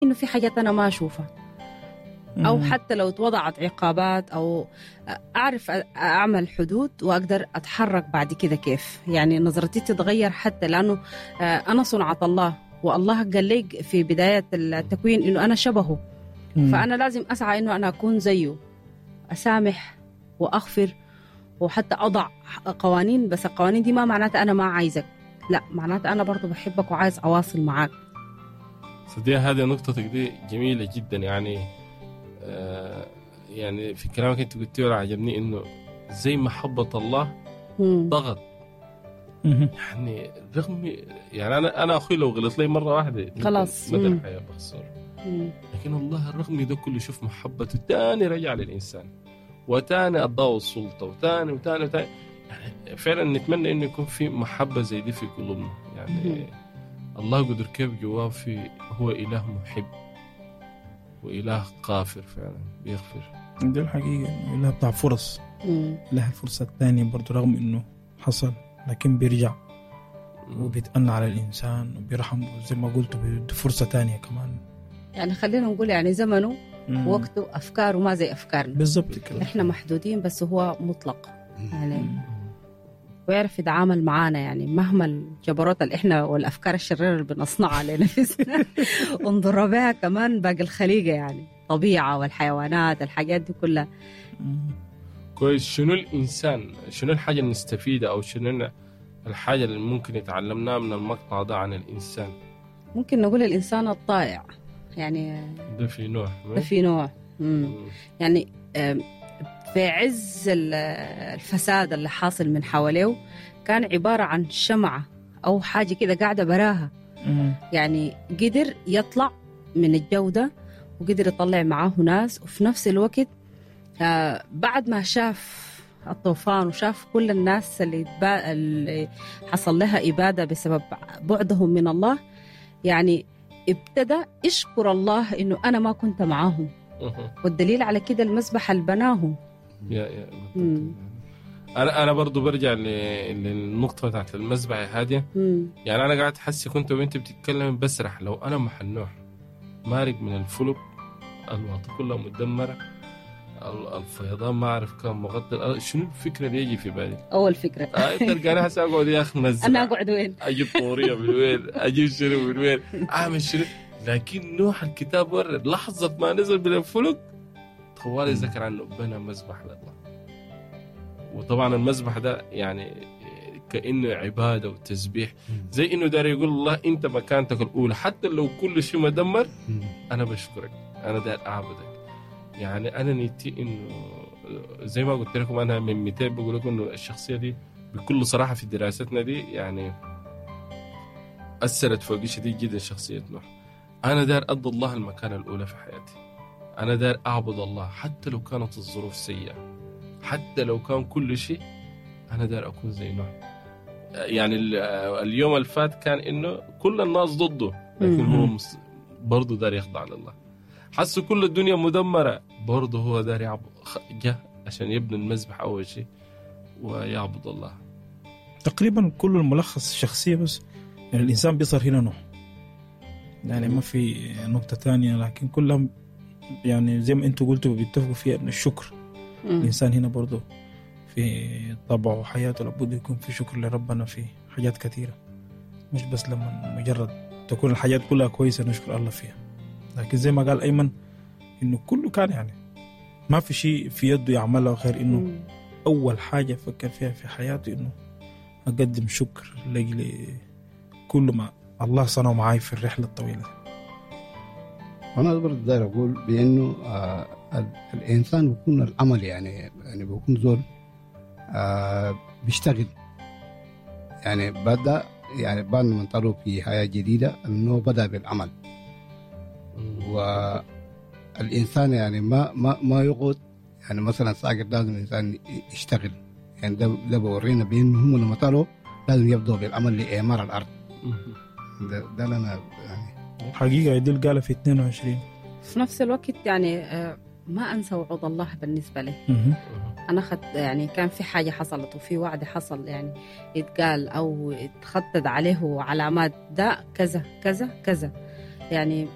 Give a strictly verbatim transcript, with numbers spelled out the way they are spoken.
إنه في حاجات أنا ما أشوفها، أو حتى لو اتوضعت عقابات أو أعرف أعمل حدود وأقدر أتحرك بعد كده كيف، يعني نظرتي تتغير، حتى لأنه أنا صنعة الله، والله قال لي في بداية التكوين إنه أنا شبهه، مم. فأنا لازم أسعى إنه أنا أكون زيه، أسامح وأغفر وحتى أضع قوانين، بس القوانين دي ما معناتها أنا ما عايزك، لا معناتها أنا برضو بحبك وعايز أواصل معاك. صديقة هذه نقطتك دي جميلة جدا، يعني آه يعني في كلامك أنت قلتيه ولا عجبني إنه زي محبة الله ضغط، يعني رغم يعني أنا أنا أخوي لو غلط لي مرة واحدة خلاص مدى الحياة بخسر، لكن الله رغم ده كله شوف محبته تاني رجع للإنسان، وتاني أضاء السلطة، وتاني وتاني وتاني. يعني فعلا نتمنى إنه يكون في محبة زي دي في قلوبنا، يعني مم. الله قدر كيف جواه في هو إله محب وإله قافر، فعلا بيغفر. دي الحقيقة إله بتاع فرص، إله الفرصة الثانية برضو رغم إنه حصل لكن بيرجع وبيتأنى على الإنسان وبيرحمه زي ما قلت، بيدي فرصة تانية كمان. يعني خلينا نقول يعني زمنه ووقته أفكاره ما زي أفكارنا بالضبط كده، إحنا محدودين بس هو مطلق يعني، ويعرف يتعامل معانا، يعني مهما الجبروت اللي إحنا والأفكار الشريرة اللي بنصنعها لنفسنا ونضر بها كمان باقي الخليقة، يعني الطبيعة والحيوانات الحاجات دي كلها. كويس. شنو الإنسان، شنو الحاجة اللي نستفيدها أو شنو الحاجة اللي ممكن يتعلمناها من المقطع ده عن الإنسان؟ ممكن نقول الإنسان الطائع، يعني ده في نوع ده في نوع مم. يعني في عز الفساد اللي حاصل من حواليه كان عبارة عن شمعة أو حاجة كده قاعدة براها، مم. يعني قدر يطلع من الجودة وقدر يطلع معاه ناس، وفي نفس الوقت بعد ما شاف الطوفان وشاف كل الناس اللي, اللي حصل لها إبادة بسبب بعدهم من الله، يعني ابتدى يشكر الله إنه أنا ما كنت معاهم، والدليل على كده المسبح اللي بناهم. يا يا أنا أنا برضو برجع للنقطة بتاعت المسبح يا هادية. يعني أنا قاعد أحس كنت وأنت بتتكلم بسرح، لو أنا محل نوح مارق من الفلك، الواطة كلها مدمرة، الفيضان ما أعرف كم مغطي، شنو الفكرة اللي يجي في بالي؟ أول فكرة آه تلقاني هسه أقعد يا أخي مزرعة، أنا أقعد وين؟ أجيب طورية من وين؟ أجيب شنو من وين؟ أعمل شنو؟ لكن نوح الكتاب ورد لحظة ما نزل من الفلك طوالي ذكر عنه بنى مذبح لله. وطبعا المذبح ده يعني كأنه عبادة وتسبيح، زي إنه دار يقول الله أنت مكانتك الأولى، حتى لو كل شيء مدمر أنا بشكرك، أنا دار أعبدك. يعني أنا نيتي إنه زي ما قلت لكم أنا من مئتين بقول لكم إنه الشخصية دي بكل صراحة في دراستنا دي يعني أثرت فوقي شديد جدا شخصية نوح. أنا دار أدي الله المكانة الأولى في حياتي، أنا دار أعبد الله حتى لو كانت الظروف سيئة، حتى لو كان كل شيء، أنا دار أكون زي نوح. يعني اليوم الفات كان إنه كل الناس ضده، لكن هو برضه دار يخضع لله. حس كل الدنيا مدمرة، برضه هو دار يعبد، جاء عشان يبني المذبح أول شيء ويعبد الله. تقريبا كل الملخص الشخصية، بس يعني الإنسان بيصير هنا نوح، يعني ما في نقطة تانية، لكن كلهم يعني زي ما انتوا قلتوا بيتفقوا فيها ان الشكر. مم. الإنسان هنا برضو في طبعه وحياته لابد يكون في شكر لربنا في حاجات كثيرة، مش بس لما مجرد تكون الحاجات كلها كويسة نشكر الله فيها، لكن زي ما قال أيمن إنه كله كان يعني ما في شيء في يده يعمله غير إنه مم. أول حاجة فكر فيها في حياته إنه أقدم شكر لأجل كل ما الله صنعه معاي في الرحلة الطويلة. أنا برضه داير أقول بأنه آه الإنسان بيكون العمل يعني يعني بيكون زول آه بيشتغل، يعني بدأ يعني بعد ما انطلقوا في حياة جديدة إنه بدأ بالعمل. والإنسان يعني ما ما ما يقعد يعني مثلا ساقط، لازم الإنسان يشتغل، يعني ده ده بورينا بأنه هم لما طلعوا لازم يبدأوا بالعمل لإعمار الأرض. ده ده أنا يعني حقيقة يدل قال في اثنين وعشرين. في نفس الوقت يعني ما أنسى وعود الله بالنسبة لي. أنا خد يعني كان في حاجة حصلت وفي وعد حصل يعني يتقال أو يتخطد عليه علامات ده كذا كذا كذا، يعني